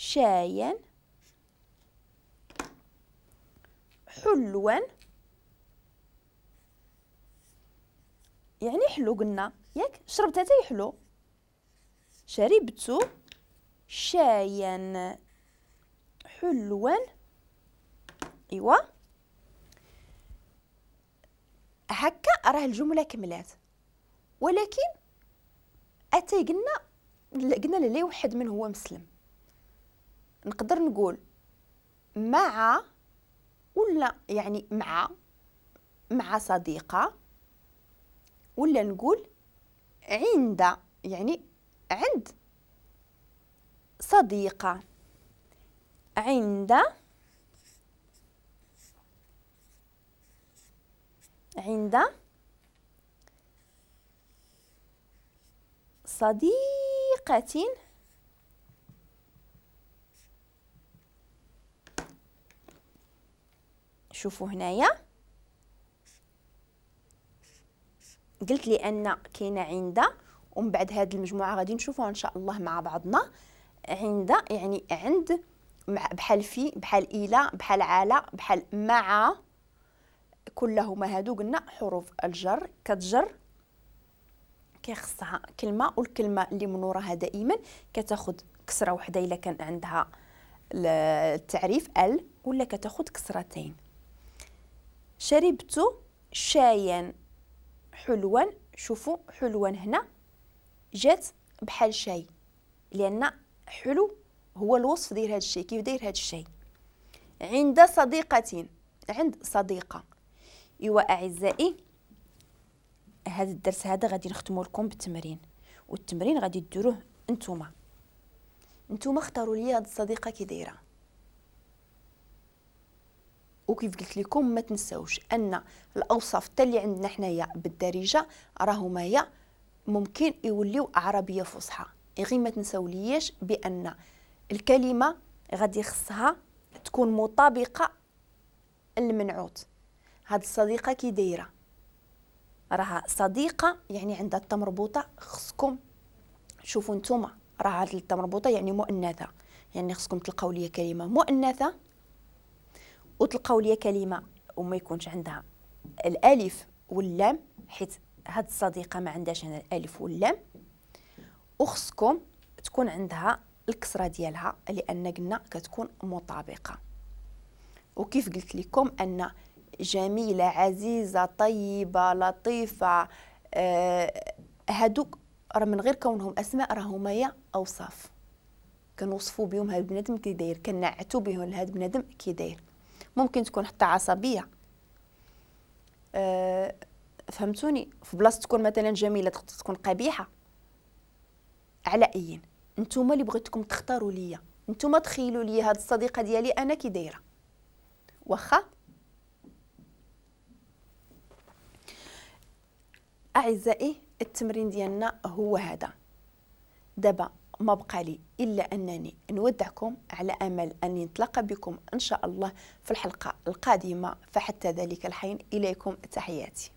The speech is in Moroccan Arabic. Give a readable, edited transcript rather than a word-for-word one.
شايا حلوا، يعني حلو قلنا ياك، شربت اتاي حلو. شربت شايا حلوا. ايوا هكا راه الجملة كملات، ولكن اتاي قلنا لا يوحد من هو مسلم. نقدر نقول مع، ولا يعني مع صديقه، ولا نقول عند، يعني عند صديقه. عند صديقة شوفوا هنايا قلت لي ان كاينه عند، ومن بعد هذه المجموعة غادي نشوفوها ان شاء الله مع بعضنا. عند يعني عند، بحال في، بحال الى، بحال على، بحال مع، كلهما هادو قلنا حروف الجر. كتجر كيخصها كلمة، والكلمة اللي من وراها دائما كتاخذ كسره وحده الا كان عندها التعريف ال، ولا كتاخذ كسرتين. شربت شايا حلوا، شوفوا حلوا هنا جات بحال شاي، لان حلو هو الوصف ديال هذا الشيء، كيف داير هذا الشيء. عند صديقة، عند صديقه. ايوا اعزائي هذا الدرس هذا غادي نختمو لكم بالتمرين، والتمرين غادي ديروه نتوما. نتوما اختاروا لي هاد الصديقة كي دايرة. وكيف قلت لكم ما تنساوش ان الاوصاف حتى اللي عندنا حنايا بالدارجة راهما هي ممكن يوليو عربية فصحى، غير ما تنساولياش بان الكلمة غادي خصها تكون مطابقه للمنعوت. هاد الصديقة كي دايرة، راها صديقه يعني عندها التا مربوطة، خصكم شوفوا نتوما راه هاد التا مربوطة يعني مؤنثة، يعني خصكم تلقاو لي كلمة مؤنثة وتلقاو لي كلمة وما يكونش عندها الالف واللام، حيت هاد الصديقة ما عندهاش هنا الالف واللام، وخصكم تكون عندها الكسرة ديالها لان قلنا كتكون مطابقه. وكيف قلت لكم ان جميلة، عزيزه، طيبة، لطيفة، هادوك راه من غير كونهم اسماء راهما هي اوصاف كنوصفوا بهم هاد البنادم كي داير، كنعتوا بهم لهاد البنادم كي داير. ممكن تكون حتى عصبية، فهمتوني، في بلاصة تكون مثلا جميلة تقدر تكون قبيحة. على ايين نتوما اللي بغيتكم تختاروا ليا، نتوما تخيلوا ليا هاد الصديقة ديالي انا كي دايرة. واخا اعزائي التمرين ديالنا هو هذا. دابا ما بقى لي الا انني نودعكم على امل اني نتلاقى بكم ان شاء الله في الحلقة القادمة، فحتى ذلك الحين اليكم تحياتي.